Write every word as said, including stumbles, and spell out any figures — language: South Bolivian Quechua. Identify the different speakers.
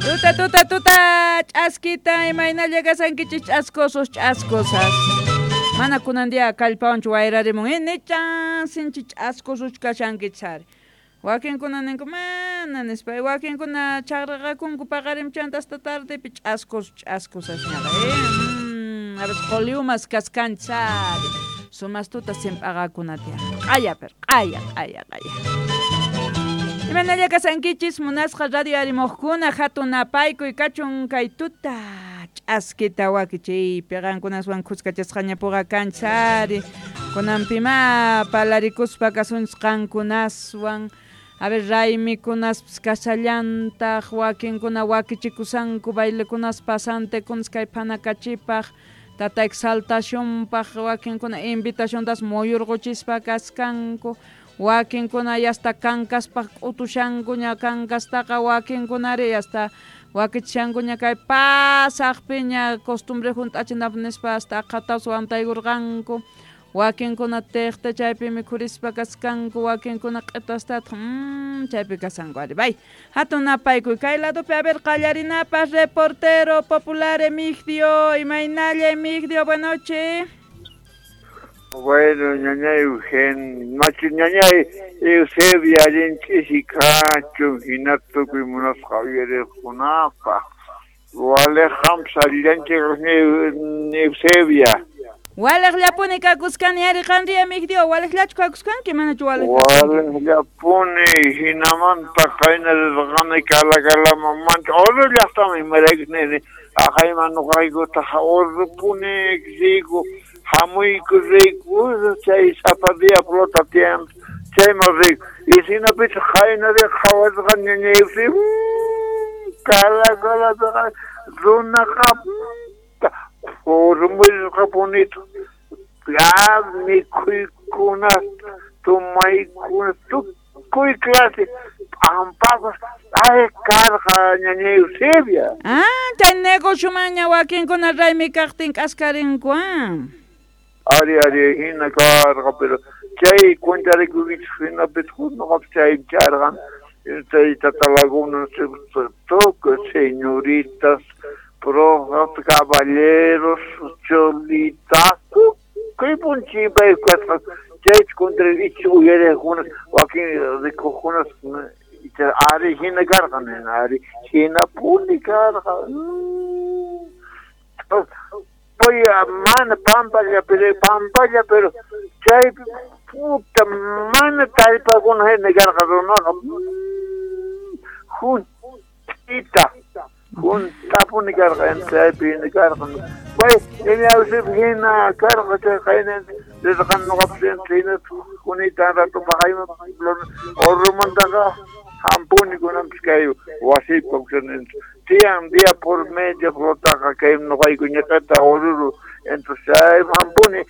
Speaker 1: Tuta tuta tuta ch'askita imaynalla kasankichis ch'askosos ch'askosas. Mana kunan día kallpawanchu wayrarimun inichan sinchi ch'askosos kashankichis ari. Wakinkuna ninku mana nispa wakinkuna chaqraqakunku paqarimchanta hasta tardepi ch'askos ch'askosasñaqa eh mm, a veces qoliumas kaskanchis ari. Sumas tuta simp'aqakuna tiyan. Q'aya pero q'aya q'aya q'aya. Imanalla kasankichis munasqa radio arimuqkuna hatun napaykuy kachun kay tuta ch'askita wakichiypi qankunaswan khuskachasqañapuqa kanchis ari. Kunanpima palarikuspa kasunchis qankunaswan. A ver, raymikunaspis kasallantaq wakinkuna wakichikusanku bailekunas pasantekunas kay phanakachipaq tata exaltacionpaq wakinkuna invitaciontas muyurquchispa kaskanku wakinkuna yasta kankaspaq k'utushankuña kankastaqa wakinkunari hasta wakichishankuña kay pasaqpiña costumbre hunt'achinapaq nispa hasta aqhatapas wantaykurqanku wakinkuna tiqta chaypi mikhurispa kaskanku wakinkuna q'itastataq mmm chaypi kasanku ari bay hatun napaykuy kay ladopi a ver qallarinapaq reportero popular Emigdio imaynalla Emigdio buenas noches.
Speaker 2: Bueno, ñañay Eugen, machu ñañay Eusebia allin ch'isi kachun hina tukuy munasqa uyariqkunapaq. Waliq qampas allillanchik Eusebia.
Speaker 1: Waliqllapuni kakuskani ari qanri Emigdio, waliqllachu kakuskanki manachu waliq?
Speaker 2: Waliqllapuni hinamanta qayna rirqani Calacalamanmanta Oruro llaqtaman imaraykus nini aqayman nuqaykutaq Orurupuni riyku hamuyku riyku chay sapa día flota tiyan chayman riyku y hinapitaq qayna riq qhawarisqani ñañay Eusebia Calacalapiqa runaqa urmuyqapunita ya mikhuykuna tumaykuna tukuy clase p'ampapas ay karqa ñañay Eusebia.
Speaker 1: Ah, chay negociomanña wakinkuna raymi kaqtin k'askarinku ah.
Speaker 2: Ari ari hina karqa pero chay cuentarikuykichis hinapitaq nuqapis chay charqan chay Tata Laguna tukuy señoritas profes, caballeros, cholitas, tukuy punchimpay kasqa chayta contra icha uyariqkunas wakin rikuqkunas icha ari hina karqa nina ari hinapuni karqa. Mana pampalla pero pampalla pero chaypi puta mana tallpakuna hina karqa runaqa juntita juntapuni karqa chaypi hina karqa. Pay ñañay hina karqa chay qayna rirqani nuqapis hina kunita rato paqayman Orurumantaqa hampuni kunanpis kay wasiypi kawsani tiyan día por medio flotaqa kay nuqayku ñiqita Oruro entonces chay hampuni.